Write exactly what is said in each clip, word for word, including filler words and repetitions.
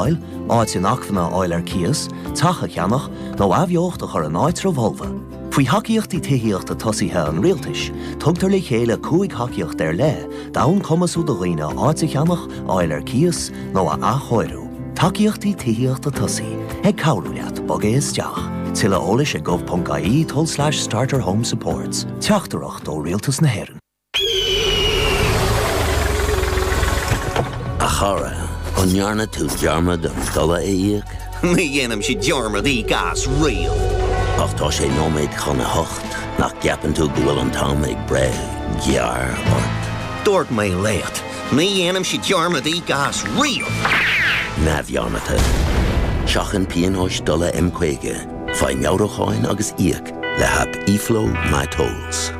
Áit inacmhainne a fháil ar cíos, teach a cheannach nó athbheocht a chur in áitreabh fholamh. Faoi thacaíochtaí tithíochta tosaithe an rialtais, tugtar le chéile cúig thacaíocht ar leith, d'fhonn cumasú do dhaoine áit a cheannach, a fháil ar cíos nó a athchóiriú. Tacaíochtaí tithíochta tosaithe ag cabhrú leat bogadh isteach. Tuilleadh eolais ag gov.ie tulslais starter home supports. Teachtaireacht ó Rialtas na hÉireann. A chara, an ndearna tú dearmad an dola a íoc? Ní dhéanaimse dearmad íoc as riamh. Ach tá sé nóiméad chun a hocht, nach gceapann tú go bhfuil an t-am ag breith gearr ort? Dúirt mé leat, ní dhéanaimse dearmad íoc as riamh. Neamhdhearmadta. Seachain pionóis dola M caoga, faigh meabhrúcháin agus íoc le haip eFlow MyTolls.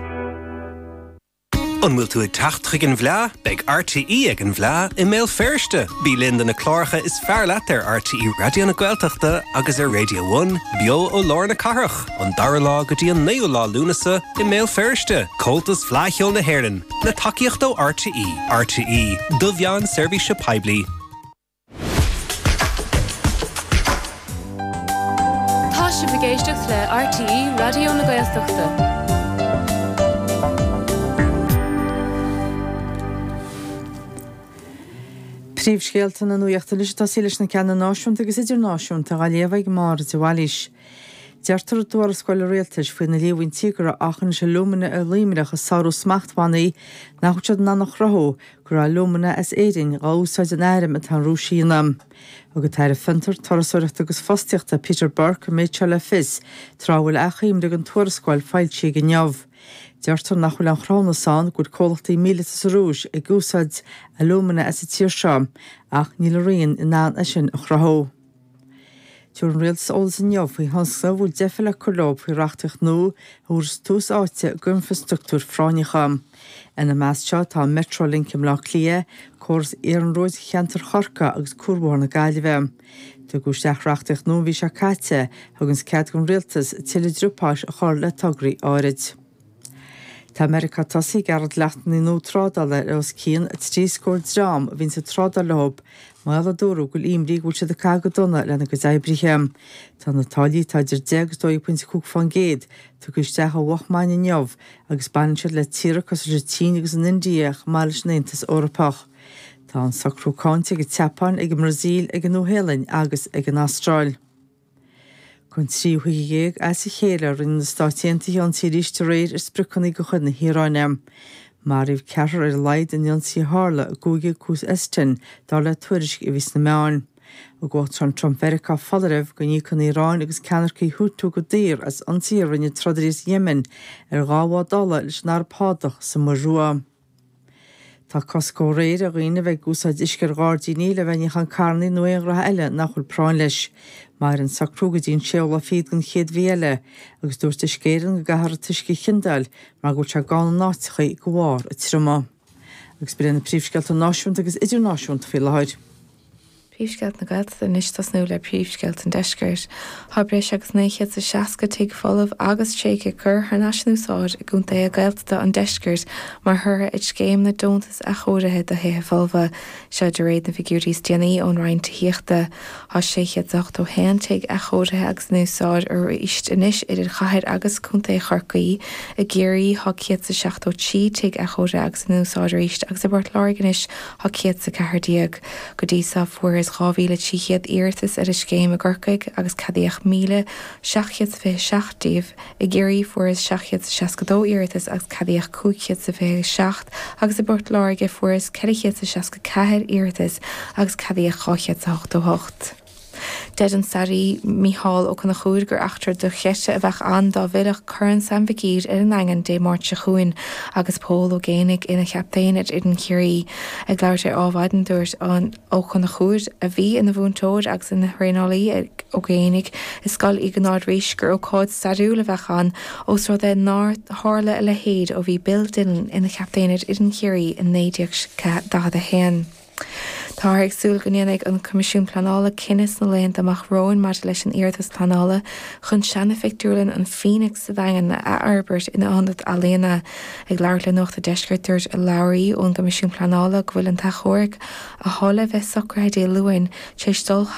An bhfuil tú ag teacht chuig an bhFleá? Beidh RTÉ ag an bhFleá i mBéal Feirste. Bí linn do na cláracha is fearr leat ar RTÉ Raidió na Gaeltachta agus ar Radio One, beo ó lár na cathrach, an dara lá go dtí an naoú lá Lúnasa i mBéal Feirste. Comhaltas Fleadh Cheoil na hÉireann, le tacaíocht ó RTÉ. RTÉ, do mheán seirbhíse poiblí. Tá sibh ag éisteacht le RTÉ Raidió na Gaeltachta. Príomhscéalta na nuachta anois ag tosaí leis na ceanna náisiúnta agus idirnáisiúnta á léamh ag Máire de Bhailís. Deirtear i dtuarascáil an rialtais faoi na líomhaintí go raibh achainis alúmana i Luimneach ag sárú smachtbhannaí nach bhfuil siad in ann a chruthú go raibh alúmana as Éirinn dhá úsáid in airm atá an Rúis a dhéanamh. Thug an tAire Fiontar, Turasóireachta agus Fostaíochta Peter Burke an méid seo le fios tráth a bhfuil achoimre den tuarascáil foilsithe inniu. Deirtear nach bhfuil aon chruthúnas ann go bhfuil comhlachtaí míleata sa Rúis ag úsáid alúmana as an tír seo, ach níl a rian in ann é sin a chruthú. Tabharfaidh an rialtas eolas inniu faoi thionscnaimh a bhfuil deifir le cur leo faoi reachtaíocht nua a thabharfas tús áite d'infreastruchtúir phráinneacha. Ina measc seo tá Metrolink i mBleá Cliath, córas iarnróid cheantar Chorcaí agus Cuarbhóthar na Gaillimhe. Tugadh isteach reachtaíocht nua an mhí seo caite a thuganns cead don rialtas tuilleadh driopáis a chur le tograí áirid. Tá Meiriceá tosaithe ag gearradh dleachtanna nua trádála ar os cionn trí scór dream a bhíonns ag trádáil leo mar gheall a dúradh go bhfuil imní go bhfuil siad ag caitheamh go dona lena gcuid oibrithe. Tá na táillí, atá idir deich agus dó dhéag pointe cúig fán gcéad, tugtha isteach ó mhoch maidin inniu agus baineann siad le tíortha cosúil leis an tSín agus an India chomh maith leis an Aontas Eorpach. Tá an socrú cáinte ag an tSeapáin, ag an mBrasaíl, ag an Nua-Shéalainn agus ag an Astráil. Don tríú hoíche dhéag as a chéile rinne na Stáit Aontaithe ionsaí arís aréir ar spriocanna de chuid na hIaráine. Maraíodh ceathrar ar a laghad in ionsaí a tharla i gcúige Khuzestan, dar le tuairisc a bhí sna meáin. Thug Uachtarán Trump Mheiriceá foláireamh go n-íocfaidh an Iaráin agus ceannaircigh Houthi go daor as ionsaithe a rinne trodairí as Yemen ar dhá bhád ola leis an Araib Shádach sa Muir Rua. Tá cosc ó aréir ar dhaoine a bheith ag úsáid uisce ar ghairdíní le bheith ag níochán carrannaí nó aon ghraithe eile nach bhfuil práinn leis. Mairfidh an socrú go dtí an séú lá fichead den chéad mhí eile agus dúirt Uisce Éireann go gcaithfear an t-uisce a chiondáil mar go bhfuil sé gann in áiteachaí de bharr an triomaigh. Agus b'in iad na príomhscéalta náisiúnta agus idirnáisiúnta faoi láthair. Príomhscéalta na Gaeltachta anois tosnú le príomhscéalta an deiscirt. Tá breis agus naoi chéad is seasca tigh folamh agus tréigthe curtha thar n-ais in úsáid i gcontaetha Gaeltachta an deiscirt mar thoradh ar scéim na deontas athchóirithe do thithe folmha. Seo de réir na bhfigiúirí is déanaí ón Roinn Tithíochta. Tá sé chéad is ochtó haon tigh athchóirithe agus in úsáid arís anois idir chathair agus contae Chorcaí. I gCiarraí tá céad is seachtó trí tigh athchóirithe agus in úsáid arís agus i bPort Láirge anois tá céad is a ceathair déag. Go dtí seo fuarthas dhá mhíle trí chéad iarratas ar an scéim i gCorcaigh agus ceadaíodh míle seacht gcéad is fiche seacht díobh. I gCiarraí fuarthas seacht gcéad is seasca dó iarratas agus ceadaíodh cúig chéad is fiche seacht agus i bPort Láirge fuarthas ceithre chéad is seasca ceathair iarratas agus ceadaíodh dhá chéad is a hochtó hocht. Deir an staraí Mícheál Ó Conchúir gur eachtra dochreidte a bheadh ann dá bhfillfeadh Corn Sam Mhic Uidhir ar an nDaingean Dé Máirt seo chugainn agus Pól Ó Géibheannaigh ina chaptaen ar fhoireann Chiarraí. Ag labhairt ar Adhmhaidin dúirt Ó Conchúir, a bhí ina mhúinteoir agus ina thraenálaí ag Ó Géibheannaigh i Scoil Iognáid Rís, gur ócáid stairiúil a bheadh ann ós rud é nár tharla a leithéid ó bhí Bill Dillon ina chaptaen ar fhoireann Chiarraí i naoi déag daichead a haon. Táthar ag súil go ndéanfaidh an Coimisiún Pleanála cinneadh sna laethanta amach romhainn maidir leis an iarratas pleanála chun seana-phictiúrlann an Phoenix sa Daingean a athfhorbairt ina ionad ealaíona. Ag labhairt le Nuacht an Deiscirt dúirt urlabhraí ón gCoimisiún Pleanála go bhfuil an t-achomharc atá le bheith socraithe Dé Luain tar éis dul